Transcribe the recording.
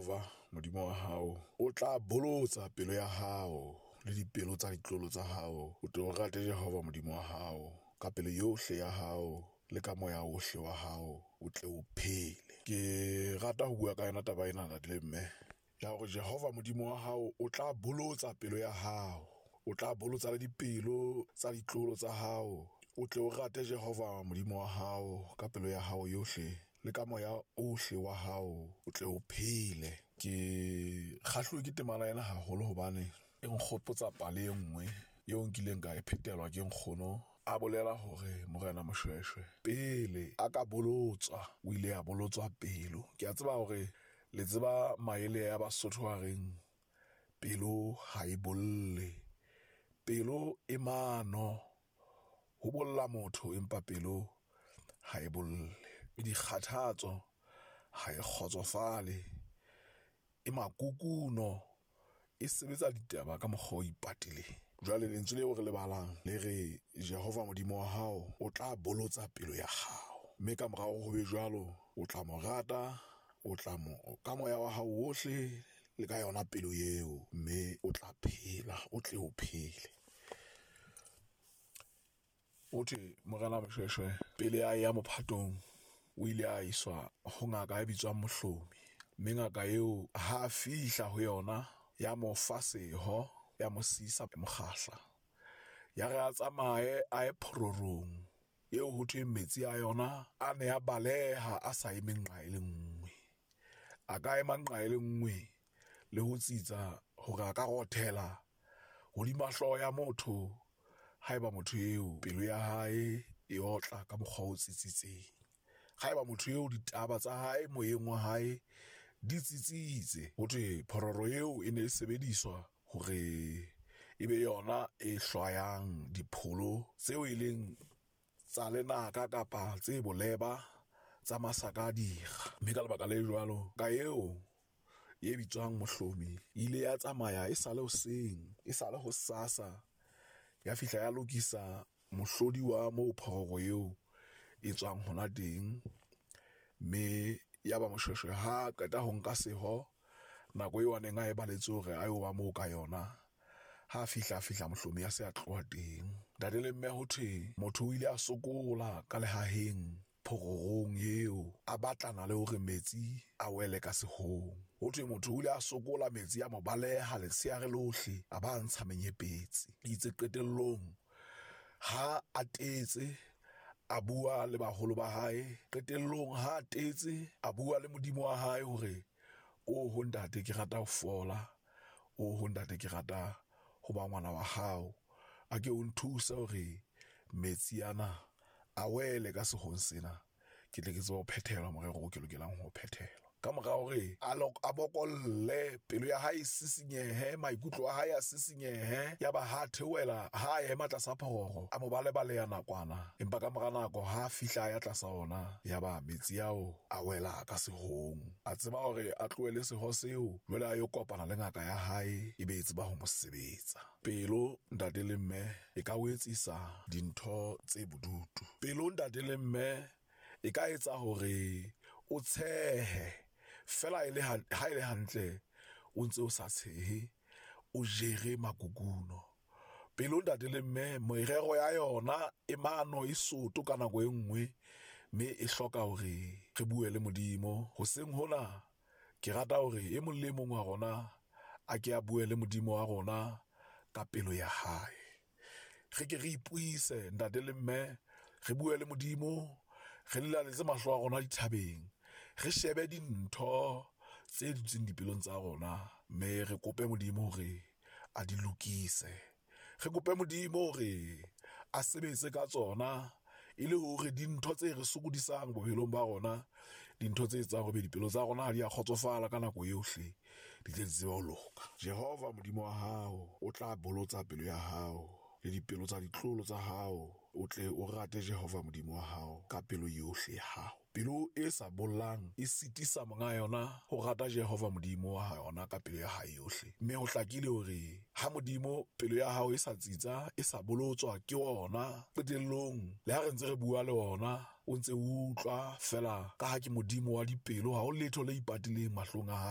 Jehova Modimo wa hao, o tla bolotsa pelo ya hao le dipelo tsa ditlolo tsa hao. O tle o rate Jehova Modimo wa hao ka pelo yohle ya hao le ka moya ohle wa hao, o tle o phele. Ke rata ho bua ka yona taba ena, ntate le mme, ya hore Jehova Modimo wa hao o tla bolotsa pelo ya hao, o tla bolotsa le dipelo tsa ditlolo tsa hao. O tle o rate Jehova Modimo wa hao ka pelo ya hao yohle le ka moya ohle wa hao, o tle o phele. Ke kgahluwe ke temana ena haholo hobane e nkgopotsa pale e nngwe eo nkileng ka e phetelwa ke nkgono. A bolela hore Morena Moshweshwe pele a ka bolotswa, o ile a bolotswa pelo. Ke a tseba hore le tseba maele a Basotho a reng pelo ha e bolle, pelo e mano. Ho bolla motho empa pelo ha e bolle. Dikgathatso ha e kgotsofale, e makukuno, e sebetsa ditaba ka mokgwa o ipatileng. Jwale lentswe leo re le balang le re Jehova Modimo wa hao o tla bolotsa pelo ya hao, mme ka morao ho be jwalo o tla mo rata, o tla mo ka moya wa hao wohle le ka yona pelo eo, mme o tla phela, o tle o phele. O thwe Morena Moshweshwe pele a ya mophatong o ile a iswa ho ngaka e bitswang Mohlomi, mme ngaka eo ha a fihla ho yona ya mo fa seho, ya mo sisa mokgahla, ya re a tsamaye a ye phororong eo ho thweng metsi a yona a ne a baleha a sa eme nqa e le nngwe. A ka ema nqa e le nngwe le ho tsitsa hore a ka rothela hodima hlooho ya motho haeba motho eo pelo ya hae e otla ka mokgwa o tsitsitseng. Haeba motho eo ditaba tsa hae moyeng wa hae di tsitsitse, ho thwe phororo eo e ne e sebediswa hore e be yona e hlwayang dipholo tseo e leng tsa lenaka kapa tse boleba tsa masaka a dira. Mme ka lebaka le jwalo, ka eo e bitswang Mohlomi e ile ya tsamaya e sale hoseng, e sale hosasa, ya fihla ya lokisa mohlodi wa moo phororo eo e tswang hona teng. Mme ya ba Moshweshwe ha qeta ho nka seho nako eo a neng a e baletse hore a yo ba moo ka yona, ha fihla Mohlomi a se a tloha teng. Ntate le mme, ho thwe motho o ile a sokola ka lehaheng phororong eo, a batlana le hore metsi a wele ka sehong. Ho thwe motho o ile a sokola, metsi a mo baleha letsheare lohle, a ba ntsha menyepetsi. Itse qetellong ha a tetse, a bua le baholo ba hae. Qetellong ha a tetse, a bua le Modimo wa hae hore o ho ntate ke rata ho fola, o ho ntate ke rata ho ba ngwana wa hao, a ke o nthuse hore metsi ana a wele ka sehong sena, ke tle ke tsebe ho phethela morero o ke lokelang ho phethela. Ka mora hore a bokolle, pelo ya hae e sisinyehe, maikutlo a hae a sisinyehe, ya ba ha theohela, ha a ema tlasa phororo, a mo balebaleha nakwana. Empa ka mora nako ha a fihla a ya tlasa ona, ya ba metsi ao a wela ka sehong. A tseba hore a tlohele seho seo, jwale a yo kopana le ngaka ya hae, e be e tseba ho mo sebetsa. Pelo, ntate le mme, e ka o etsisa dintho tse bodutu. Pelo, ntate le mme, e ka etsa hore o tshehe fela e le ha e le hantle o ntse o sa tshehe, o jere makukuno. Pelo, ntate le mme, merero ya yona e mano e soto ka nako e nngwe, mme e hloka hore re bue le Modimo. Hoseng hona ke rata hore e mong le mong wa rona a ke a bue le Modimo wa rona ka pelo ya hae. Re ke re ipuise, ntate le mme, re bue le Modimo, re lelaletse mahlo a rona dithabeng, re shebe dintho tse dutseng dipelong tsa rona, mme re kope Modimo hore a di lokise. Re kope Modimo hore a sebetse ka tsona, e le hore dintho tse re sokodisang bophelong ba rona, dintho tse etsang hore dipelo tsa rona ha di a kgotsofala ka nako yohle, di tle di tsebe ho loka. Jehova Modimo wa hao o tla bolotsa pelo ya hao le dipelo tsa ditlolo tsa hao, o tle o rate Jehova Modimo wa hao ka pelo yohle ya hao. Pelo e sa bollang e sitisa monga yona ho rata Jehova Modimo wa yona ka pelo ya hae yohle. Mme ho hlakile hore ha Modimo pelo ya hao e sa tsitsa, e sa bolotswa ke ona, qetellong le ha re ntse re bua le ona, o ntse o utlwa fela, ka ha ke Modimo wa dipelo, ha ho letho le ipatileng mahlong a hae.